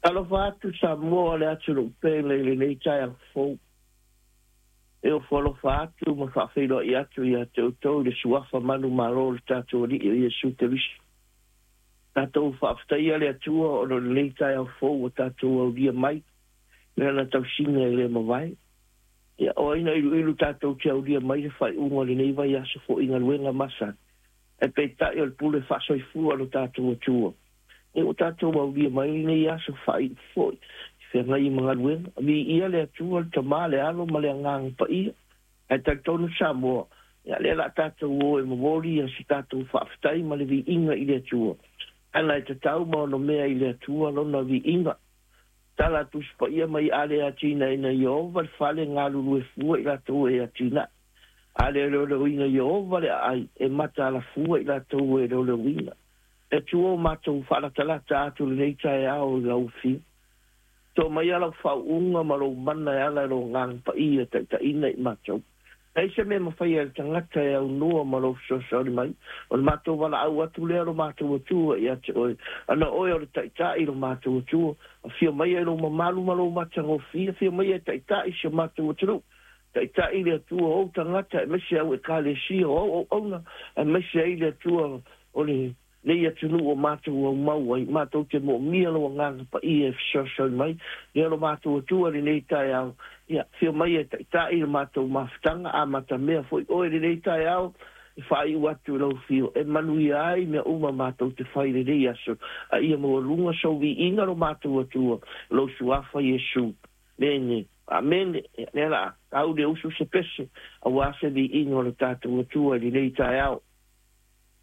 Talofa atu Samoa le atunuu pele i lenei taeao fou. E ofo alofa atu ma faafeiloai atu ia te outou i le suafa manumalo o le tatou Alii o Iesu Keriso. Tatou faafetaia le Atua ona o lenei taeao fou ua tatou aulia mai i Lana tausiga e le mavae. Ia, o ai na iluilu tatou te aulia mai le faaiuga o lenei vaiaso foi i galuega masani, ae peitai o le pule faasoifua a lo tatou Atua. Ia ua tatou aulia mai lenei aso faaiu foi i feagai ma galuega. Viia le Atua, le Tama, le Alo ma le Agaga Paia. Ae talitonu Samoa, ia lea o le a tatou o e momoli se tatou faafetai ma le viiga i le Atua. Leaga e tatau ma ono mea i le Atua lona viiga. Tala a Tusi Paia mai a le atinaeina Ieova le fale, galulue fua i latou e atinae. A le leoleoina Ieova le aai, e mataala fua i latou e leoleoina. E Atua o matou faalatalata atu lenei taeao i lau Afio. To maia lau faauuga ma lou mana e ala i lou Agaga Paia e taitaiina i matou. Leai se mea e mafaia e le tagata e aunoa ma lou fesoasoani mai. O le matou valaau atu lea lo matou Atua ia te oe. Ana oe o le Taitai lo matou Atua, afio maia i lou mamalu ma lou matagofie, afio maia e taitai si o matou atunuu. Taitai le Atua o ou tagata aemaise au Ekalesia o au auauna, aemaise ai le Atua o lenei atunuu o matou aumau ai, matou te moomia lou Agaga Paia e fesoasoani mai. Lea lo matou Atua i lenei taeao, ia, afio mai e taitai le matou mafutaga, amatamea foi oe i lenei taeao, e faaiu atu i lau afio, e manuia ai mea uma matou te fai i lenei aso, a ia maualuga sou viiga lo matou Atua, lou Suafa Iesu. Mene. Amene. Ia, lea la, tau le usu se pese, aua se viiga o le tatou Atua i lenei taeao.